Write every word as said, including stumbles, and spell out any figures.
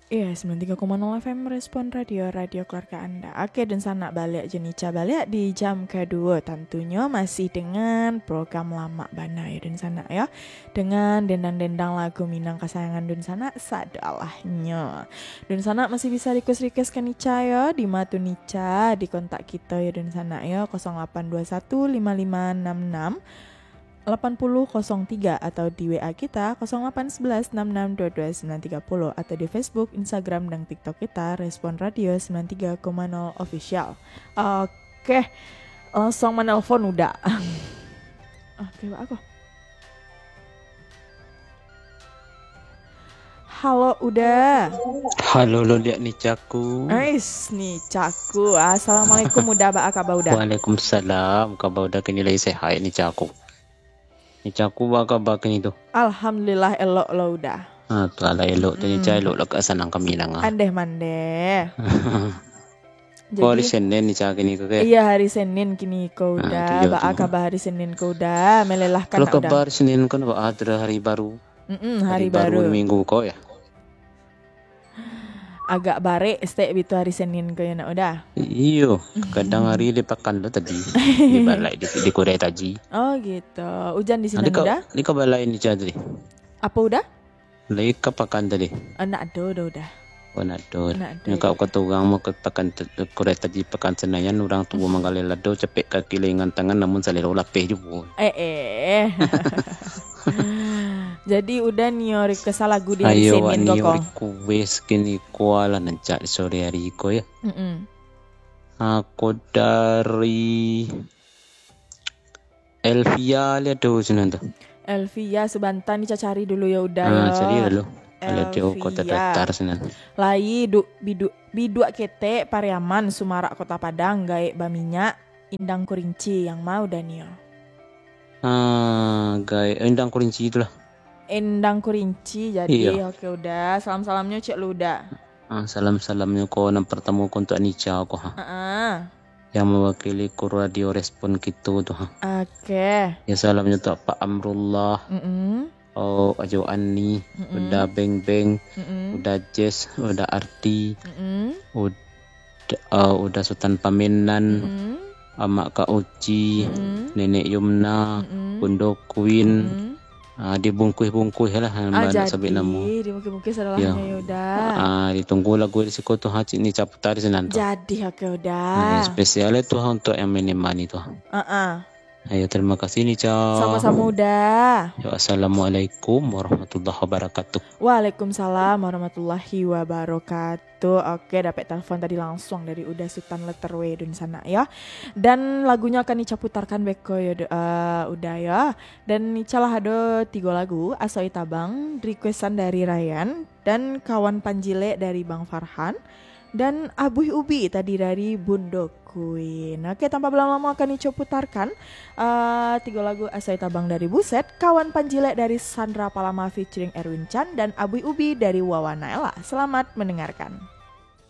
Iya, sembilan tiga koma nol F M Respon Radio, radio keluarga Anda. Oke, dunsanak, baliak jo Nica baliak di jam kaduo. Tantunyo masih dengan program Lamak Bana yo, dunsanak yo. Dengan dendang-dendang lagu Minang kasayangan dunsanak sadolahnyo. Dunsanak masih bisa request-request ka Nica yo. Di ma tu Nica? Di kontak kito yo, dunsanak yo, kosong lapan dua satu lima lima enam enam lapan puluh kosong tiga atau di W A kita kosong lapan sebelas enam enam dua dua sembilan tiga puluh atau di Facebook, Instagram, dan TikTok kita Respon Radio sembilan tiga koma nol Official. Oke, langsung manelpon Uda. Oke, Pak, aku. Halo, Uda. Halo, lo liak Nicaku. Ais, Nicaku. Assalamualaikum, Uda. Baa kaba, Uda? Waalaikumsalam. Kaba Uda kini lai sehat, Nicaku. Nicaku, baa kaba kini tu? Alhamdulillah, elok lo, Uda. Ah, tu lah elok tu, Nica, elok lah ka sanang kami nang ah. Andeh mandeh. Ko hari Senin, Nica, kini ko, ke? Iya, hari Senin kini ko, Uda. Baa kaba hari Senin ko, Uda? Melelahkan. Kalau kaba hari Senin kan, baa, ado hari baru. Mm-mm, hari baru minggu ko, ya. Agak barek stek bitu hari Senin ko, ya, nak, Uda? Iyo, kadang hari di pakan tu tadi. Di balai, di, di kurai taji. Oh, gitu. Ujan di sinan, Uda? Di ka balai, Nica, tadi. Apa, Uda? Lai ka pakan tadi? Ah, nak ado, Uda, Uda. Oh, nak ado. Nak ado. Nyo ka kota urang, mau ka pakan te-, kurai taji, pakan Senayan, urang tuo manggaleh lado, capek kaki, lengan tangan, namun salero lapeh juo. Eh, eh. Jadi, Uda nio request lagu di hari Senin ko? Ayo, wak nio request kini ko lah, nan cak sore hari ko, ya. Mm-mm. Ako dari Elvia, lihat tu sinan tu. Elvia, sabanta ni cacari dulu yo, Uda, yo. Ah, cari dulu. Kalau di kota datar sinan. Lai du-, bidu-, biduak ketek Pariaman, Sumarak, Kota Padang, gaek baminyak, Indang Kurinci, yang ma Uda nio? Ah, gaek, eh, Indang Kurinci itulah. Indang Kurinci, jadi. Iyo. Oke, Uda. Salam-salamnyo cek lu, Uda. Ah, salam-salamnyo ko, nan partamo ko untuak Nica ko, ha. Heeh. Yang mewakili kru Radio Respon kito tu, ha. Oke. Ya, salamnyo tu Pak Amrullah, Mm-mm. oh, Ajo Ani, Mm-mm. Uda Beng Beng, Mm-mm. Uda Jess, Uda Arti, Mm-mm. Uda, uh, Uda Sutan Pamenan, Mm-mm. Amak Kak Uci, Mm-mm. Nenek Yumna, Mm-mm. Bundo Queen, Mm-mm. Ah, dibungkuih-bungkuih lah, ah, jadi, sabik namo. Dibungkuih-bungkuih sadolahnyo, yo, Uda. Ah, ditunggu lagu di siko tu, ha, cik ni caputar sinan tu. Jadi, oke, Uda. Ah, yang spesial tu, ha, untuk yang mini mani tu. Heeh. Ayo, terima kasih, Nica. Samo-samo, Uda. Yo, assalamualaikum warahmatullahi wabarakatuh. Waalaikumsalam warahmatullahi wabarakatuh. Tu, oke, dapek telepon tadi langsung dari Uda Sutan Letter W dunsanak, yo. Dan lagunyo akan Nica putarkan beko, yo, Du-, eh, Uda, yo. Dan Nica lah ado tigo lagu, Asoi Tabang, requestan dari Ryan, dan Kawan Panjilek dari Bang Farhan, dan Abuih Ubi tadi dari Bundo Queen. Oke, tanpa balamo-lamo akan Nica putarkan, eh, tigo lagu, Asoi Tabang dari Buset, Kawan Panjilek dari Sandra Palama featuring Erwin Chan, dan Abuih Ubi dari Wawa Naela. Selamat mendengarkan.